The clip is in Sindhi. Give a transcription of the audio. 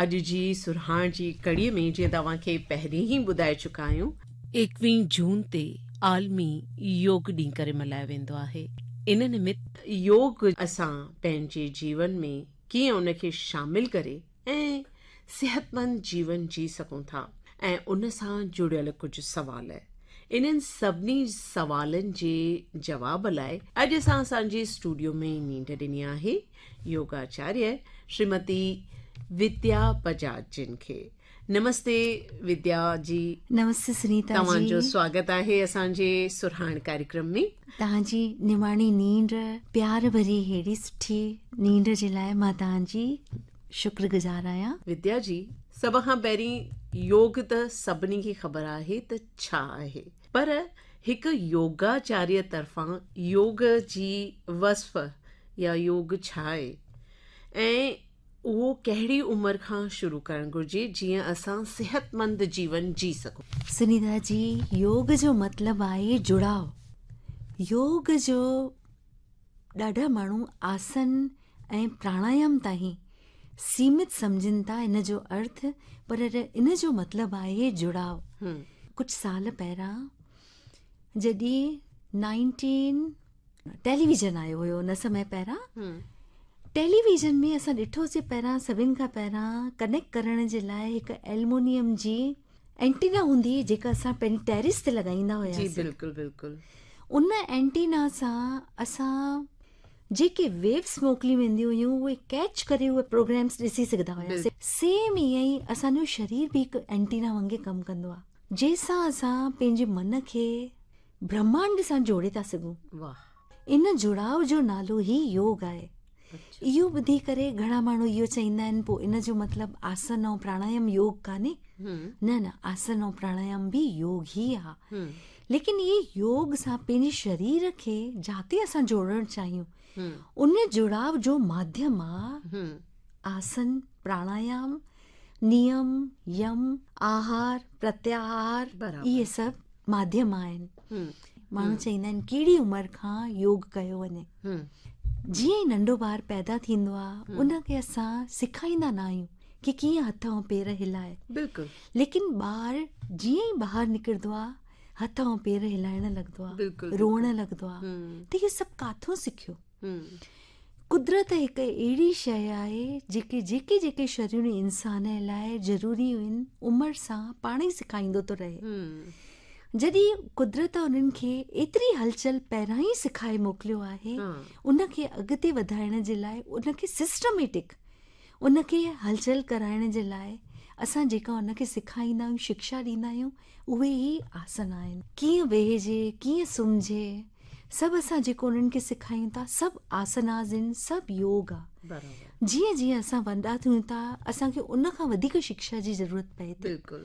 اڄ جي سرهاڻ جي ڪڙيء ۾ جيئن توهان کي پهرين ئي ٻڌائي چڪا آهيون، ايڪويهين جون تي عالمي يوگ ڏينهن ڪري ملهايو ويندو آهي. ان نمت يوگ اسان پنهنجي جيون ۾ ڪيئن ان کي شامل ڪري ۽ صحتمند جيون جي سگهون ٿا ۽ ان سان جڙيل ڪجهه سوال. انهن سڀني سوالن جي جواب لاء اڄ اسان اسان جي اسٽوڊيو ۾ نينڍ ڏني آهي يوگاچاريه شريمتي وديا بجاج جن کي. نمستي وديا جي. نمستي سنيتا جي. توهان جو سواگت آهي اسان جي سرهاڻ ڪاريڪرم ۾. توهان جي نماڻي نينڍ، پيار ڀري ههڙي سٺي نينڍ جي لاء مان توهان جي شڪر گذار آهيان. وديا جي، سڀ کان پهرين يوگ ته سڀني کي خبر آهي ته ڇا آهي پر هڪ يوگاچاريه طرفان يوگ جي وصف يا يوگ ڇا آهي ۽ اهو ڪهڙي عمر کان شروع ڪرڻ گهرجي جيئن اسان صحتمند جيون جي سگهون. سنيتا جي، يوگ جو مطلب آهي جڙاء. يوگ جو ڏاڍا ماڻهو آسن ۽ پراڻايام تائين سيمت سمجهن ٿا ان جو ارٿ پر ان جو مطلب آهي جڙاء. ڪجهه سال پهريان جڏهن نائنٽين ٽيليويزن آيو هيو ان سمي پهريان ٽيليويزن ۾ اسان ڏٺوسي پهريان سڀن کان پهريان ڪنيڪٽ ڪرڻ جي لاء هڪ ايلمونيم جي اينٽينا هوندي هئي جيڪا اسان پنهنجي ٽيرس تي لڳائيندا هياسين. جي بلڪل بلڪل. ان اينٽينا سان اسان جيڪي ويوز موڪليون وينديون هيون اهي ڪيچ ڪري اهي پروگرامس ڏسي سگهندا هياسين. سيم ائين ئي اسان جو شرير به هڪ اينٽينا وانگي ڪم ڪندو آهي جنهن سان اسان پنهنجي من کي برهمانڊ سان جوڙي ٿا سگهون. واهه. ان جڙاء جو نالو ئي يوگ آهي. اهو ٻڌي ڪري گهڻا ماڻهو اهو چئيندا آهن پوء ان جو مطلب آسن ۽ پراڻايام يوگ ڪانهي؟ نه نه آسن ۽ پراڻايام به يوگ ئي آ. ليڪن اهي يوگ سان پنهنجي شرير کي جاتي اسان جوڙڻ چاهيون ان جڙاء جو ماڌيم آ آسن، پراڻايام، نيم، يم، آهار، پرتياهار اهي سڀ ماڌيم آهن. ماڻهو چئيندا آهن ڪهڙي عمر کان يوگ ڪيو وڃي؟ جيئن ئي ننڍو ٻار پيدا ٿيندو آهي ان کي اسان سکائيندا نه آهيون ڪي ڪيئن هٿ ۽ پير هلائي. بلڪل. ليڪن ٻار جيئن ئي ٻاهر نڪرندو آهي هٿ ۽ پير هلائڻ لڳندو آهي، روئڻ لڳندو آهي ته اهو سڀ ڪاٿون سکيو؟ قدرت هڪ اهڙي شيء آهي جيڪي جيڪي جيڪي شيون انسان لاء ضروري آهن عمر سان پاڻ ئي سکائيندو ٿو رهي. جڏهن قدرت انهن کي ايتري هلچل پهريان ئي سکائي موڪليو آهي ان کي اڳتي وڌائڻ جي لاء ان کي سسٽميٽڪ ان کي هلچل ڪرائڻ جي لاء اسان جيڪا ان کي سکائيندا آهيون شڪشا ڏيندا آهيون اهي ئي آسن آهن. ڪيئن ويهجي ڪيئن سمهجي سڀ اسان جيڪو انهن کي سکايون ٿا سڀ آسناز آهن سڀ يوگ آ. جيئن جيئن اسان وڏا ٿيون ٿا اسان کي ان کان وڌيڪ شڪشا جي ضرورت پئي ٿي. بلڪل.